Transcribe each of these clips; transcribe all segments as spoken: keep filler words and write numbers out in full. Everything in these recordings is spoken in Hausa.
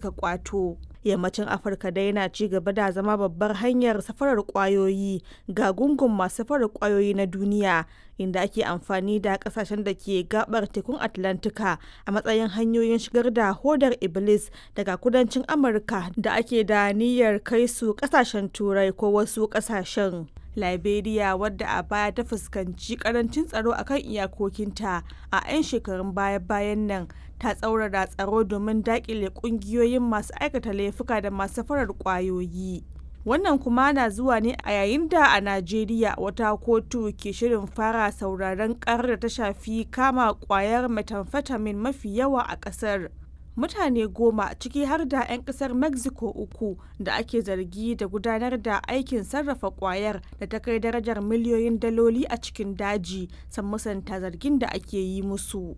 suka kwato. Yammacin Afirka dai na ci gaba da zama babbar hanyar safarar kwayoyi ga gungun masu safarar kwayoyi na duniya, inda ake amfani da kasashen da ke gabar tekun Atlantika a matsayin hanyoyin shigar da hodar Iblis daga kudancin Amurka da ake da niyyar kai su kasashen Turai ko wasu kasashen. Liberia, wadda a baya ta fuskanci karancin tsaro a kan iyakokinta, a 'yan shekarun baya-bayan nan ta tsaurara tsaro domin dakile kungiyoyin masu aikata laifuka da masu safarar kwayoyi. Wannan kuma na zuwa ne a yayin da a Najeriya wata kotu ke shirin fara sauraron karar da ta shafi kama kwayar methamphetamine mafi yawa a kasar. Mutane goma, ciki har da 'yan kasar Mexico uku da ake zargi da gudanar da aikin sarrafa kwayar da ta kai darajar miliyoyin daloli a cikin daji, sun musanta zargin da ake yi musu.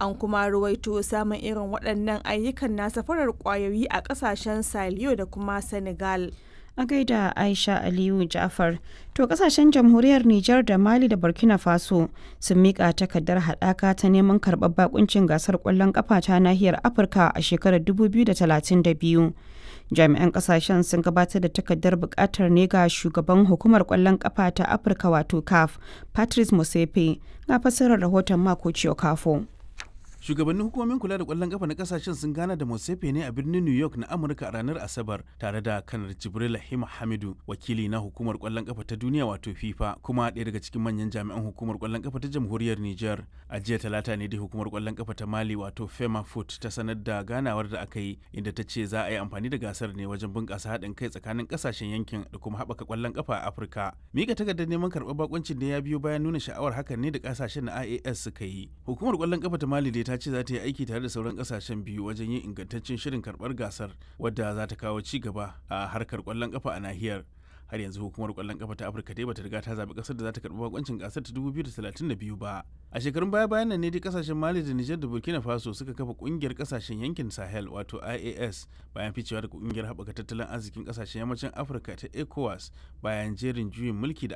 An kuma ruwaito samun irin waɗannan ayyukan na safarar kwayoyi a ƙasashen Saliyo da kuma Senegal. A gaida Aisha Aliyu Ja'far. To, kasashen jamhuriyar Nijar da Mali da Burkina Faso sun mika takardar haɗaka ta neman karɓar bakuncin gasar ƙwallon ƙafa ta nahiyar Afirka a shekarar dubu biyu da talatin da biyu. Jami'an kasashen sun gabatar da takardar buƙatar ne ga shugaban hukumar ƙwallon ƙafa ta Afirka, wato CAF, Patrice Motsepe. Ga fassarar rahoton Mako Kafo. Shugabannin hukumomin kula da kwallon kafa na kasashen sun gana da Motsepe ne a birnin New York na Amurka a ranar Asabar, tare da Kanar Jibril Hima Hamidu, wakili na hukumar kwallon kafa ta duniya, wato FIFA, kuma ɗaya daga cikin manyan jami'an hukumar kwallon kafa ta jamhuriyar Niger. A jiya Talata ne dai hukumar kwallon kafa ta Mali, wato Fema Foot, ta sanar da ganawar da aka yi, inda ta ce za a yi amfani da gasar ne wajen bunƙasa haɗin kai tsakanin kasashen yankin da kuma haɓaka kwallon kafa a Afirka. Mika takardar neman karɓar bakuncin ne ya biyo bayan nuna sha'awar hakan ne da kasashen na I A S suka yi. Hukumar kwallon kafa ta Mali dai ta ce za ta yi aiki tare da sauran kasashen biyu wajen yin ingantaccen shirin karbar gasar, wadda za ta kawo ci gaba a harkar kwallon kafa a nahiyar. Har yanzu hukumar kwallon kafa ta Afirka dai bata riga ta zabi kasar da za ta karbi bakoncin gasar ta dubu biyu da talatin da biyu ba. A shekarun baya bayan nan ne dai kasashen Mali da Niger da Burkina Faso suka kafa kungiyar kasashen yankin Sahel, wato I A S, bayan ficewa daga kungiyar haɓaka tattalin arzikin kasashen yammacin Afirka ta ECOWAS bayan jerin juyin mulki da